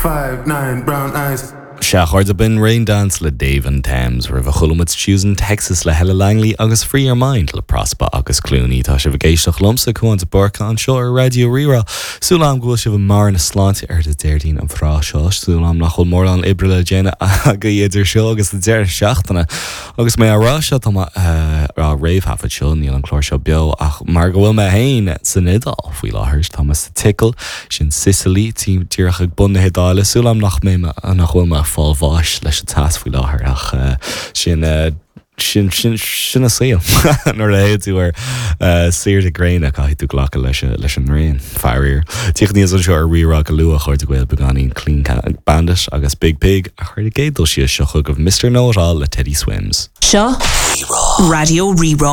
5'9", brown eyes. Sea, a chairde, b'in Raindance le Dave and Thames, roimhe chuala muid Choosing Texas le Hella Langley agus Free Your Mind le Prospa agus Clooney. Tá sibh ag éisteacht liomsa, Cúán de Búrca, anseo ar Raidió Rí-Rá. Súil agam go bhfuil sibh i mbarr na sláinte ar an Déardaoin an tráth seo. Súil agam nach bhfuil mórán oibre le déanamh agaibh idir seo agus an deireadh seachtaine. Agus mé á rá seo, tá mé á réamhthaifead seo, níl an clár seo beo, ach mar go bhfuil mé féin san Iodáil faoi láthair, tá mé sa tSicil, sin Sicily, díreach ag bun na hIodáile, súil agam nach mbeidh mé, nach bhfuil mé ag fáil bháis leis an teas faoi láthair, ach sin, sin, sin, sin an saol. Nuair a théann tú ar saoire gréine, caithfidh tú glacadh leis, leis an ngrian, faraor. Tíocht aníos anseo ar Rí-Rá go luath, a chairde Gael beagáinín Clean Bandit agus Biig Piig. Ach ar an gcéad dul síos seo chugaibh Mister Know It All le Teddy Swims. Seo Raidió Rí-Rá.